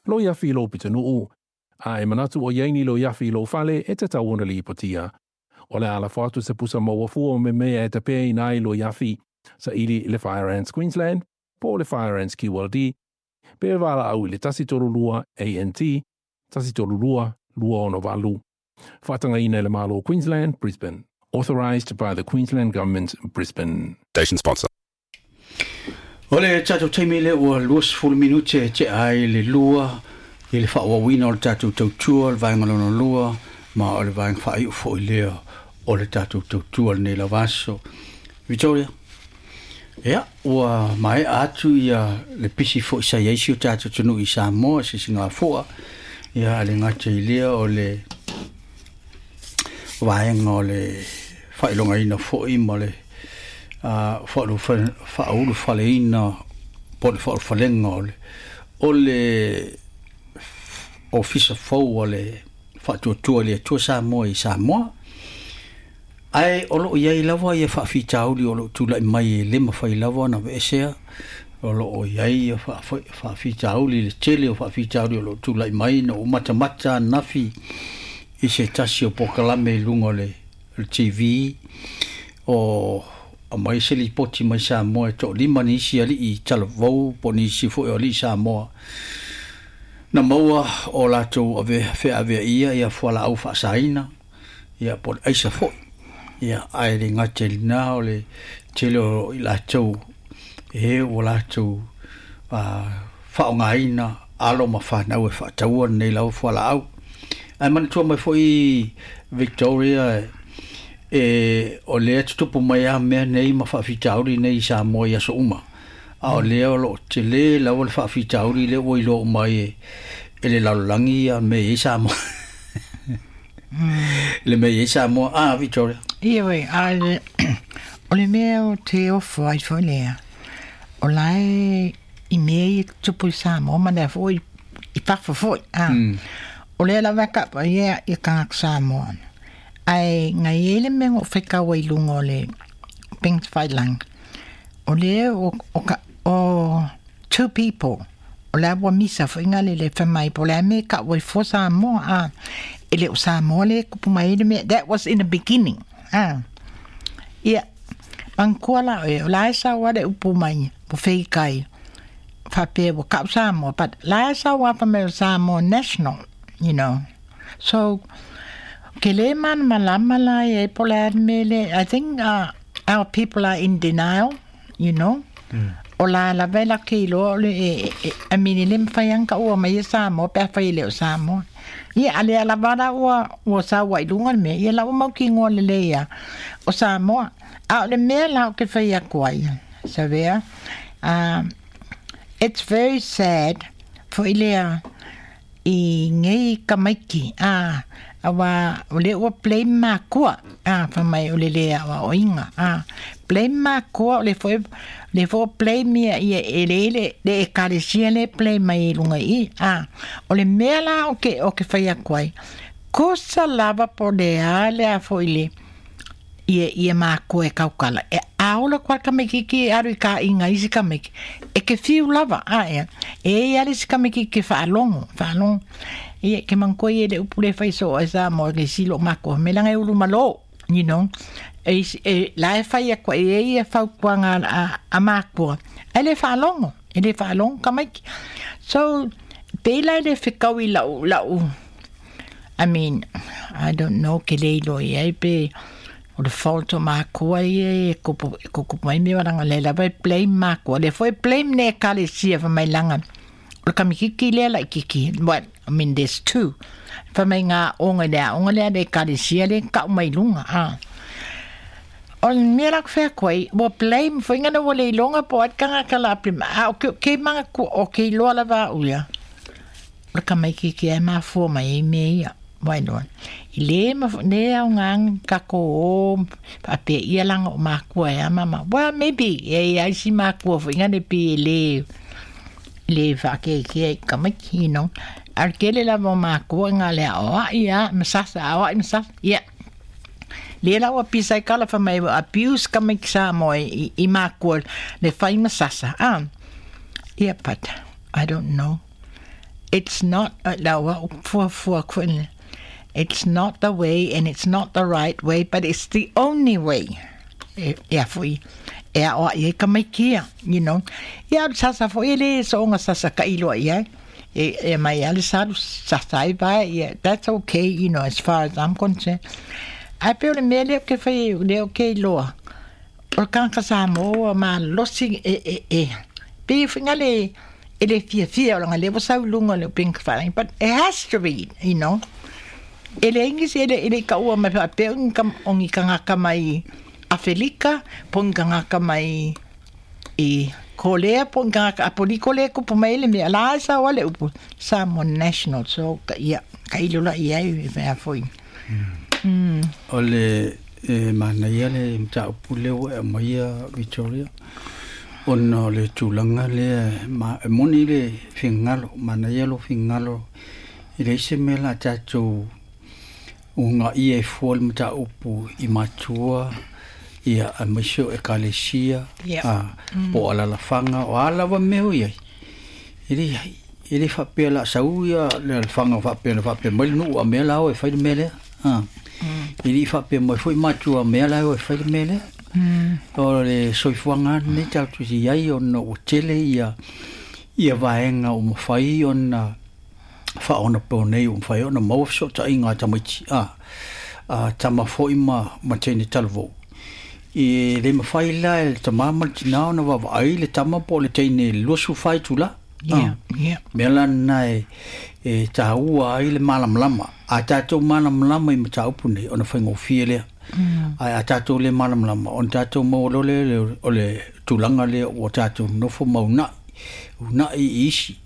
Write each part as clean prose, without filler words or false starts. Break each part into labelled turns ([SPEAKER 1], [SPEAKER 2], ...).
[SPEAKER 1] Loiafi i lou pitonuu. A e manatu o i ai ni loiafi i lou fale, e tatau ona lipotia. O le a lafo atu se pusa maua fua me mea e tapeaina ai loiafi, saili i le Fire Ants Queensland po o le Fire Ants QLD, pe valaau i le 132 ANT 132 268. Faatagaina e le Malo o Queensland, Brisbane. Authorised by the Queensland Government, Brisbane.
[SPEAKER 2] Station sponsor.
[SPEAKER 3] O le tatou taimi lea ua 20 minute e tea ai le lua i le faaauauina o le tatou tautua, le vaega lona lua, ma o le vaega faaiu foi lea o le tatou tautua lenei lava aso. Victoria, ia, ua maea atu ia le pisi foi sa i ai si o tatou atunuu i Samoa, se Sigafua, ia, a le gata i lea o le vaega o le faailogaina foi ma le faaulufaleina po o le faaulufalega o le o le ofisa fou a le Faatuatua i le Atua Samoa i Samoa. Ae o lo o i ai lava ia faafitauli o lo o tulai mai e le mafai lava ona aveesea. O lo o i ai ia faafitauli, le tele o faafitauli o lo o tulai mai. Na ou matamata ananafi i se tasi o polokalame i luga o le TV, o aumai se lipoti mai Samoa e toalima nisi alii talavou po o nisi foi o alii Samoa na maua o latou ave feaveaia ia fualaau faasaina ia po o le aisa foi. Ia, ae le gata i lena o le tele o i latou e ua latou faaaogaina alo ma fanau e faataua lenei lava fualaau. Ae manatua mai foi Victoria e o lea tutupu mai lava mea nei ma faafitauli nei i Samoa i aso uma. A o lea o lo o tele lava le faafitauli lea ua iloa uma ai e le lalolagi ia mea e i ai Samoa. Le mea e i ai Samoa. Ah, Victoria.
[SPEAKER 4] Ioe, a o le mea o te ofo ai foi lea, o la e i mea ia tutupu i Samoa ma lea foi i fafo foi. A, o lea lava e kapa ia i tagata Samoa. Ae ngai ai le mea na ou faitau ai i luga o le Pings Failang, o lea o, o, ka, o two people, o la ua misa foi nga le le fai mai po o le a mea e kau ai fua Samoa, a, e le o Samoa lea e kupu mai ai le mea, that was in the beginning, a. Ia, manatua la oe, o la e sau lava le upu mai, ua feikai, faapea ua kau Samoa, but la e sau lava fai mai o Samoa National, you know. So, ke le malamalama la i ai po o le a le mea lea, I think our people are in denial, you know. O la lava e lake iloa o le, e, e, I mean, e le mafai lava ona taua mai e Samoa pe afai e le o Samoa. Ia, a lea lava la ua, ua sau ai i luga le mea, ia la ua mautinoa lelei lava o Samoa. A o le mea la ou te fai atu ai, Savea, it's very sad foi lea i nei tamaiti, a, aua o lea ua blame makua, a, fai mai o le le aoaoina, a, blame makua o le foi, le foi blame ia, ia e le le, le ekalesia le blame mai i luga i i, a, o le mea la o ke, o ke fai atu ai, kosa lava po o le a le a foi le, ia ia makua e kaukala. E aola koa le tamaititi e alu i ka inga isi tamaiti. E ke fiu lava, a ea. E i ale isi tamaititi ke faalogo, faalogo. Ia, ke manatua ia i le upu le fai soo ai Samoa i le isi loo matua. Me langa e ulu malo, you know. E, e, la e fai atu ai e ia fautuaga a, a makua. Ae le faalogo, e le faalogo tamaiti. So, pei la e le fetau i lau, lau, I mean, I don't know ke le iloa i ai pe o le fault o makua ia e kupu, e kupu mai mea langa le lava e blame makua. Le foi blame ne ekalesia fa mai langa. O le kamikiki lea la ikiki. What? I mean, there's two. Fa mai ngā onga le aonga lea le ekalesia le kau mai lunga. Ah. O le mea la ku whea koe, ua blame foi ngana ua le iloga po ai kanga ka la blame. A o ke, ke manga ku, o ke iloa lava au ia. O le tamaititi e mafua mai ai mea ia. Wailoa. I le ma le aoga tatou o faapea ia langa o makua e a mama. Well, maybe e ai si makua foi ngane pi e le le whaakekea i tamaiti, you know. A le tele lava o makua ngā le aoai a masasa, aoai masasa. Yeah. Le la ua pisa i kala fa mai ua abuse tamaiti Samoa i, i makua le whai masasa. Ah. Yeah, but I don't know. It's not lau a'u fuafua foi it's not the way and it's not the right way, but it's the only way. E e foi e aʻoaʻi ai tamaiti ia, you know. Ia o le sasa foi e lē soʻoga sasa taʻiloa i ai. E e mai a le salu sasa ai vae ia that's okay, you know, as far as I'm concerned. Ae pei o le mea lea ou te fai ai lea ou te iloa, o le tagata Samoa ua malosi e e e pei e faiga le e le fiafia o laga lea ua sau i luga o le upega tafailagi but it has to be, you know. E leai nisi e le e le i taua mai faapea o ni o ni tagata mai Afelika po o ni tagata mai i Kolea po o ni tagata Apoliko lea e tupu mai ai le mea la e sao lava le upu Samoa National so ia tailo la i ai mea foi.
[SPEAKER 3] O le e manaia le mataupu lea ua e aumaia Victoria ona o le tulaga lea ma e moni le finagalo, manaia lou finagalo e leai se mea o le a tatou ugaia ai fua le mataupu i matua ia aemaise o Ekalesia a po o alaalafaga o a lava mea o i ai. E leai, e le faapea o le a sau ia le alafaga faapea na faapea mai le nuu a mea la o e fai le mea lea. A e le i faapea mai foi matua a mea la e o e fai le mea lea. O le soifuaga lava lenei tatou te i ai ona ua tele ia ia vaega ua mafai ona faaonaponei ua mafai ona maua fesootaiga a tamaiti a a tama foi ma ma teine talavou. E le mafai la e le tamā ma le tinā ona vaavaai le tama po o le teine i le 24 itula.
[SPEAKER 4] Yeah, yeah.
[SPEAKER 3] Mea la lena e e taua ai le malamalama. A tatou malamalama i mataupu nei ona faigofie lea. Ae a tatou le malamalama ona tatou maua loa lea o le tulaga lea ua tatou nonofo ma uunai, uunai i isi.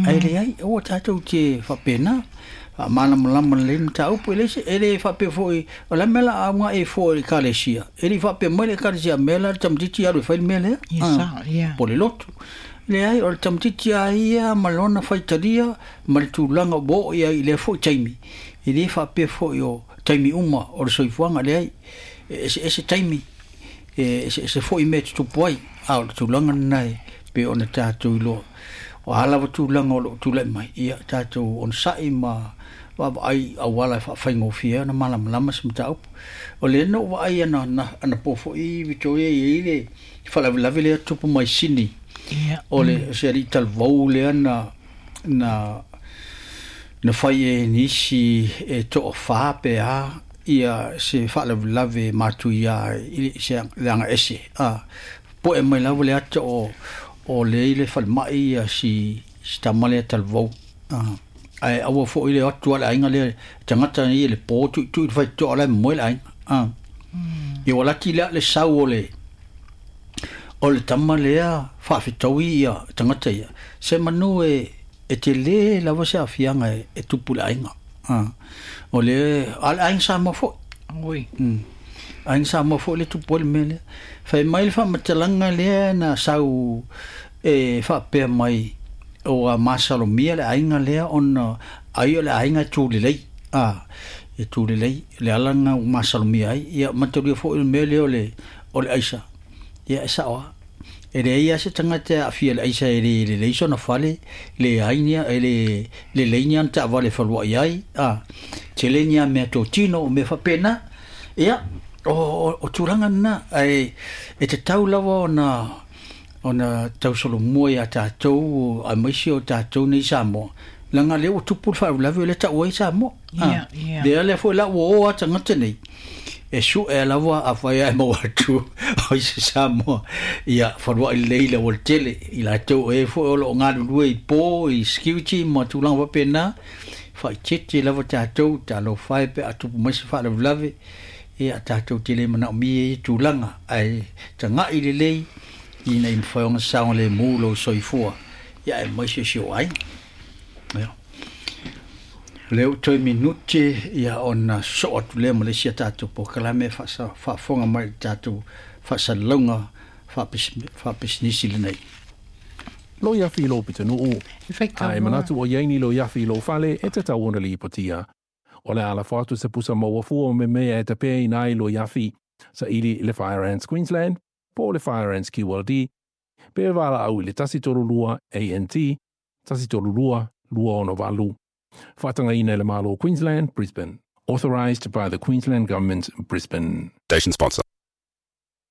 [SPEAKER 3] Ae leai, aua tatou te faapena. Faamalamalama lelei le mataupu, e leai se, e le faapea foi, o le a le mea o le a auga e fua i le Ekalesia? E le i faapea mai le Ekalesia a mea la le tamaitiiti e alu e fai le mea lea, po o le lotu. Leai, o le tamaitiiti lava ia ma lona faitalia ma le tulaga ua oo i ai i lea foi taimi, e le faapea foi o taimi uma o le soifuaga, leai, e eseese taimi, e eseese foi mea e tutupu ai, a o le tulaga lena e pei ona tatou iloa. O a lava tulaga o lo o tulai mai, ia tatou onosai ma vaavaai i auala e faafaigofie ai ona malamalama se mataupu. O lea na ou vaai anapo foi Victoria e i ai le faalavelave lea tupu mai Sydney. O le se alii talavou lea na na na fai e nisi e toafa pe a ia se faalavelave matuia i se leaga ese a poe mai lava le ata o o lea i le falemai ia si si tama lea talavou a ae aua foi le o atu a le aiga lea tagata ia le po tuitui le faitotoa la e momoe le aiga a ia ua laki lea le sau o le o le tama lea faafetaui ia tagata ia se manu e e tele lava se aafiaga e tupu i le aiga a o le a le aiga Samoa foi
[SPEAKER 4] Oi.
[SPEAKER 3] Aiga Samoa foi le tupu ai le mea lea. Fai mai le faamatalaga lea na sau e faapea mai ua masalomia le aiga lea ona ai o le aiga e tu lelei. A, e tu lelei, le ala lena ua masalomia ai. Ia matalia foi le mea lea o le, o le aisa. Ia e sao lava. E leai lava se tagata e aafia i le aisa e le lelei sona fale, leai ni, e le lelei ni ana taavale e faluai ai, a, tele ni a mea totino o mea faapena. Ia, o, o tulaga lena, ae e tatau lava ona ona tausolomua iā tatou aemaise o tatou nei Samoa, leaga o lea ua tupu le faalavelave lea e tau ai Samoa.
[SPEAKER 4] Yeah, yeah.
[SPEAKER 3] Lea lea foi la ua o lava tagata nei e sue lava afai ae maua atu o isi Samoa ia faluai lelei i le aualatele i latou o e foi o lo o galulue i po i security ma tulaga faapena faaeteete lava tatou talofa e pe a tupu mai se faalavelave ia tatou te le manaomia ia tulaga ae tagai lelei ina ia mafai ona saogalemu lou soifua ia aemaise si ou aiga. Ia. Lea ua toe minute ia ona sosoo atu lea ma le isi a tatou polokalame e faafofoga mai i le tatou faasalalauga faapisinisi lenei.
[SPEAKER 1] Loiafi i lou pitonuu. A e manatu o i ai ni loiafi i lou fale, e tatau ona lipotia. O le a lafo atu se pusa maua fua o memea e tapeaina ai loiafi, saili i le Fire Ants Queensland, po o le Fire Ants QLD, pe valaau i le 132 ANT, 132 268. Faatagaina e le Malo o Queensland, Brisbane. Authorised by the Queensland Government, Brisbane.
[SPEAKER 2] Station sponsor.